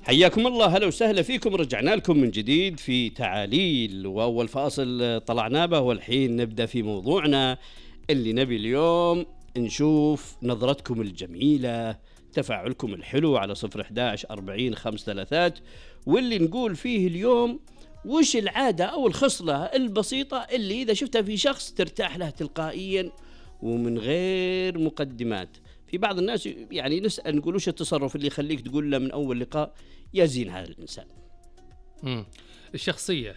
حياكم الله، هلا وسهلا فيكم. رجعنا لكم من جديد في تعاليل، وأول فاصل طلعنا به، والحين نبدأ في موضوعنا اللي نبي اليوم نشوف نظرتكم الجميلة، تفاعلكم الحلو على 011-40-533، واللي نقول فيه اليوم وش العادة أو الخصلة البسيطة اللي إذا شفتها في شخص ترتاح له تلقائيا ومن غير مقدمات. في بعض الناس يعني نسأل نقول وش التصرف اللي يخليك تقول له من أول لقاء يا زين هذا الإنسان؟ الشخصية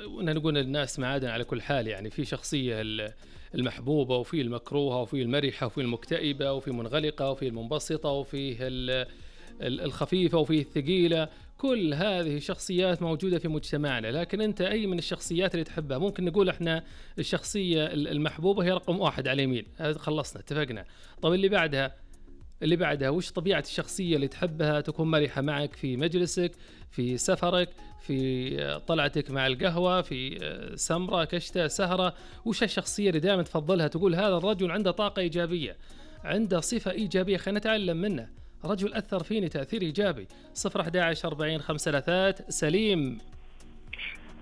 نقول للناس معادن على كل حال، يعني في شخصية المحبوبة، وفي المكروهة، وفي المرحة، وفي المكتئبة، وفي منغلقة، وفي المنبسطة، وفي الخفيفة، وفي الثقيلة. كل هذه الشخصيات موجودة في مجتمعنا، لكن أنت أي من الشخصيات اللي تحبها؟ ممكن نقول إحنا الشخصية المحبوبة هي رقم 1 على اليمين، هذا خلصنا اتفقنا. طب اللي بعدها وش طبيعة الشخصية اللي تحبها تكون مرحة معك في مجلسك، في سفرك، في طلعتك مع القهوة، في سمرة كشتة سهرة؟ وش الشخصية اللي دائما تفضلها تقول هذا الرجل عنده طاقة إيجابية، عنده صفة إيجابية، خلينا نتعلم منه، رجل أثر فيني تأثير إيجابي؟ 011-40-533. سليم،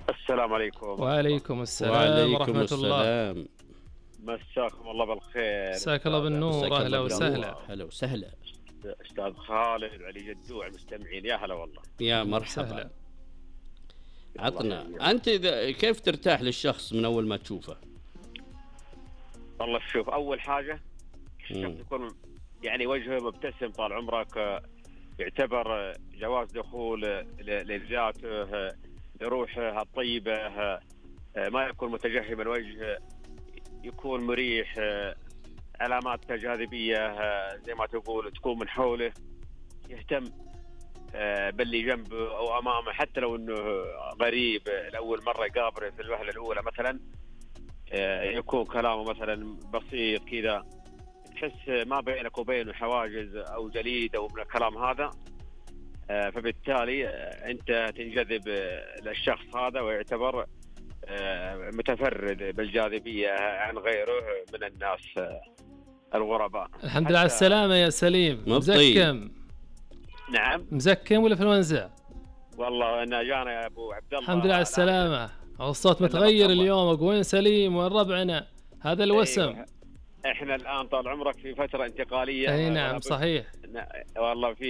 السلام عليكم. وعليكم السلام ورحمة الله. مساكم الله بالخير. مساك الله بالنور، أهلا وسهلا. هلا وسهلا أستاذ خالد وعلي جدوع المستمعين، يا هلا والله. يا مرحبا. عطنا أنت كيف ترتاح للشخص من أول ما تشوفه؟ والله شوف، أول حاجة الشخص يكون يعني وجهه مبتسم طال عمرك، يعتبر جواز دخول لذاته، لروحه الطيبة، ما يكون متجهم الوجه، يكون مريح، علامات جاذبية زي ما تقول تكون من حوله، يهتم باللي جنبه أو أمامه، حتى لو أنه غريب لأول مرة يقابله في الوهلة الأولى مثلا، يكون كلامه مثلا بسيط كذا، تحس ما بينك وبينه حواجز أو جليد أو من الكلام هذا، فبالتالي أنت تنجذب للشخص هذا ويعتبر متفرد بالجاذبية عن غيره من الناس الغرباء. الحمد لله على السلامة يا سليم. مزكم؟ نعم. مزكم ولا في الونزة؟ والله أنا جانا يا أبو عبد الله. الحمد لله على السلامة. الصوت متغير اليوم، وين سليم وين ربعنا؟ هذا الوسم. أيوة. احنا الآن طال عمرك في فترة انتقالية. أي نعم صحيح. والله في